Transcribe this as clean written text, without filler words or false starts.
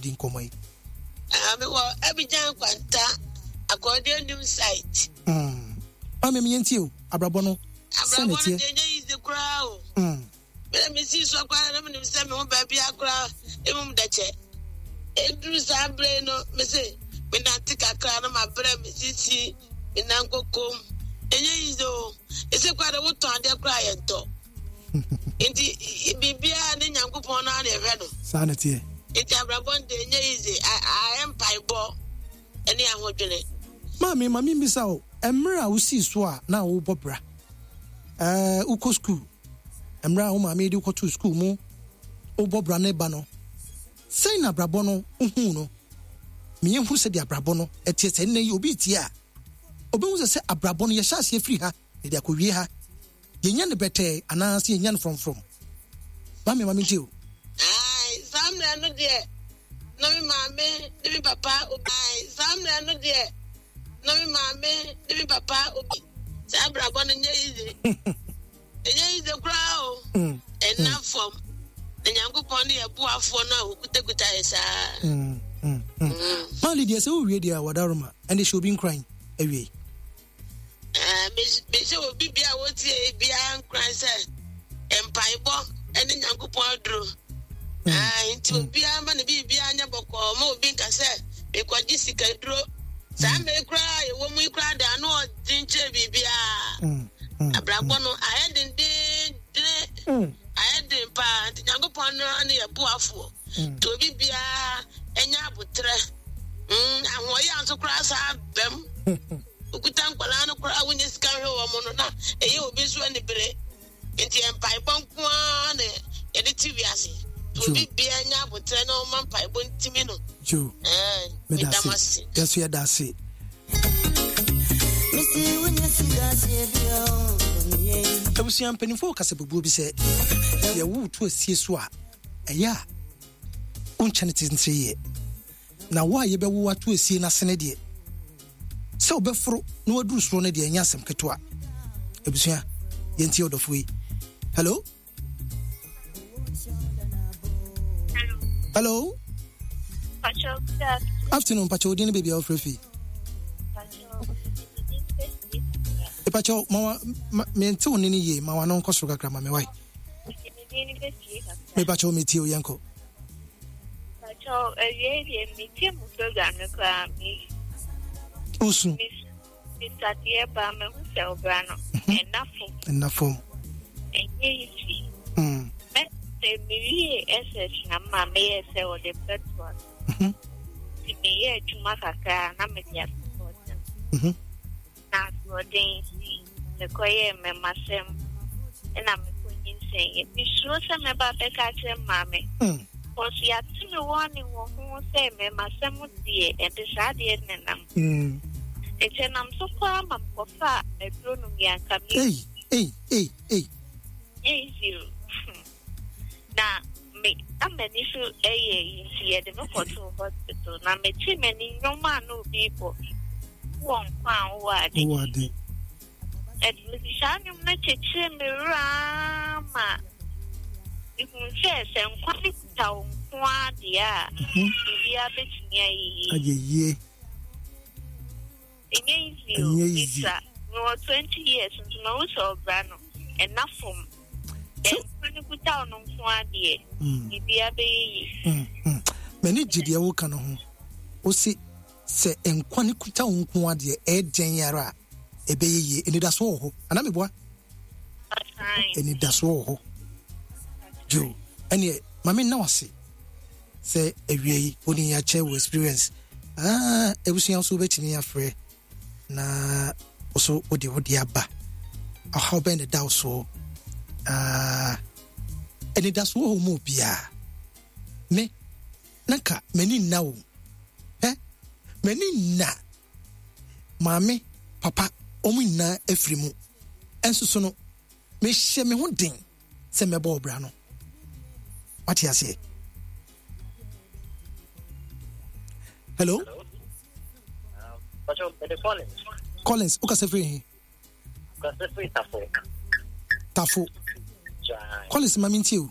di nkɔmmɔ yi? Ah, mewɔ Abidjan Kwanta, Akɔɔdeɛ Num site. Mm. Maame, me yɛntie o, abrabɔ no sɛ Abrabɔ na no ɛteɛ. deɛ ɛnyɛ easy koraa o. Mm. Mena mesii so koraa na menim sɛ me ho baabi koraa mmom dɛkyɛ. Ɛduru saa berɛ yi no, mese menante kakra na mabrɛ me sisi, me nan kokom. Ɛnyɛ easy o. Ɛsɛ koraa de wotɔn adeɛ koraa yɛntɔ. Nti biribiara ne Nyankopɔn no ara na ɛhwɛ no. Saa na ɛteɛ. Nti abrabɔ no deɛ ɛnyɛ easy. Ayɛ mpaebɔ ne ahodwene. Maame, ma mimmisa wo, mmerɛ a wosii so a na wobɔ bra, ɛɛ, wokɔ sukuu, mmerɛ a wo maame de wo kɔtoo sukuu mu, wobɔ bra no ba no, sɛn na abrabɔ no wohuu no? Ma yɛnhunu sɛdeɛ abrabɔ no ɛteɛ, sɛ nnɛ yi obi retie a, ɔbɛhu sɛ sɛ abrabɔ no yɛhyɛ aseɛ firi ha na yɛde akɔwie ha. Yɛnya no bɛtɛɛ anaa sɛ yɛnya no frɔmfrɔm? Maame ma mentie o. Ae, saa mmerɛ no deɛ na me maame ne me papa obi. Ae, saa mmerɛ no deɛ na me maame ne me papa obi. Saa abrabɔ no nyɛ easy. Ɛnyɛ easy koraa o. Mm. Ɛnna mm. fam. Na Nyankopɔn ne yɛ boafoɔ no a ɔkutakuta yɛ saa. Mm, mm, mm. Maali deɛ sɛ wowie deɛ a wadaroma ɛnde hyɛ obi nkuran awie. Mehyɛ obi bia a wotie biara nkuran sɛ mpaebɔ ne Nyankopɔn aduro. Mm. Nti mm. obiara ma ne biribiara nyɛ bɔkɔɔ ma obi nka sɛ mekɔgye sikaduro. Saa mm. mmere koraa yɛwɔ mu yi koraa de ano ɔden kyerɛ biribiara. Abrabɔ no ayɛ dendendene ayɛ den paa nti Nyankopɔn no ne yɛ boafoɔ. Nti obi biara nya aboterɛ. Ahoɔyɛ nso koraa saa bɛm. Okuta nkwadaa no koraa wonya sika hwɛ wɔn no na ɛyɛ obi nso anibere. Nti mpaebɔ nko ara na yɛde te wiase. Nti obi biara nya aboterɛ na ɔma mpaebɔ ntimi no. Jo, meda ase. Yɛso yɛda ase. Abusua mpanimfoɔ kasa bubuo bi sɛ yɛwo to asie so a ɛyɛ a wonkyɛ no tentene yɛ na wo a yɛbɛwo ato asie no asene deɛ sɛ wobɛforo na waduru soro no deɛ ɛnyɛ asɛm ketewa. Abusua, yɛntie ɔdɔfo yi. Hello? Hello? Afternoon, Pacho, odin baby a wofrɛ fi. Pacho, ma mente wo ne no yie, ma wano nkɔ soro kakra ma me wae. Mepakyɛw metie o yɛnkɔ. Pakyɛw awiei deɛ metie mo program no koraa me. Osu. Misadeɛ ba mehu sɛ ɔbra no mhm. ɛna fam. Ɛna fam. Ɛnyɛ easy. Mm. Mɛ sɛ mewie SS na mma meyɛ sɛ ɔde bɛtoa so. Mhm. Nti meyɛ adwuma kakra na mede asopɔt no. Mhm. Na asoɔden nti, mekɔyɛɛ mmɛmasɛm na mekɔnyinsɛneeɛ. Mesuro sɛ mɛba abɛka akyerɛ me maame. Because yɛate me warning wɔ ho sɛ mmɛmasɛm deɛ, ɛde saa adeɛ no nenam. Nti ɛnam so koraa ma mekɔfaa aduro nom yɛ anka me. Ei, ei, ei, ei. Nyɛ easy o. Na me na m'ani so yɛ yi nti yɛde me kɔtoo hospital na metee m'ani nnwom a na obi rebɔ wɔ nkwa a wowɔ ade. Wowɔ ade. Ɛde mede saa nnwom no kyekyere me werɛ ara ma mehu sɛ sɛ nkwa no kuta wo nko ara deɛ a mhm. biribiara bɛtumi ayɛ yie. Ayɛ yie. Ɛnyɛ easy o, Ɛnyɛ easy. Misa, mewɔ 20 years nso mahu sɛ ɔbra no, ɛna fam. Sɛ nkwa no kuta wo no nko ara deɛ, mm. biribiara bɛyɛ yie. Mm, mm. M'ani gye deɛ woka no ho. Wose sɛ nkwa no kuta wo nko ara deɛ ɛyɛ dɛn ara a ɛbɛyɛ yie. Anidasoɔ wɔ hɔ. Anaa meboa? Anidasoɔ wɔ hɔ. Joe, ɛneɛ ma me nna wase. Sɛ awia yi wo ne yɛn akyɛ wo experience ah, abusua nso wobɛtumi afrɛ na wo so wode wo de aba ɔhaw bɛn na ɛda wo soɔ ah, anidasoɔ wɔ mu obiara me na nka m'ani nna wo ɛ m'ani nna maame papa wɔn nyinaa afiri mu ɛnso so no mehyɛ me ho den sɛ mɛbɔ ɔbra no wate aseɛ hello Collins wokasa firi he tafo Collins ma mentie o.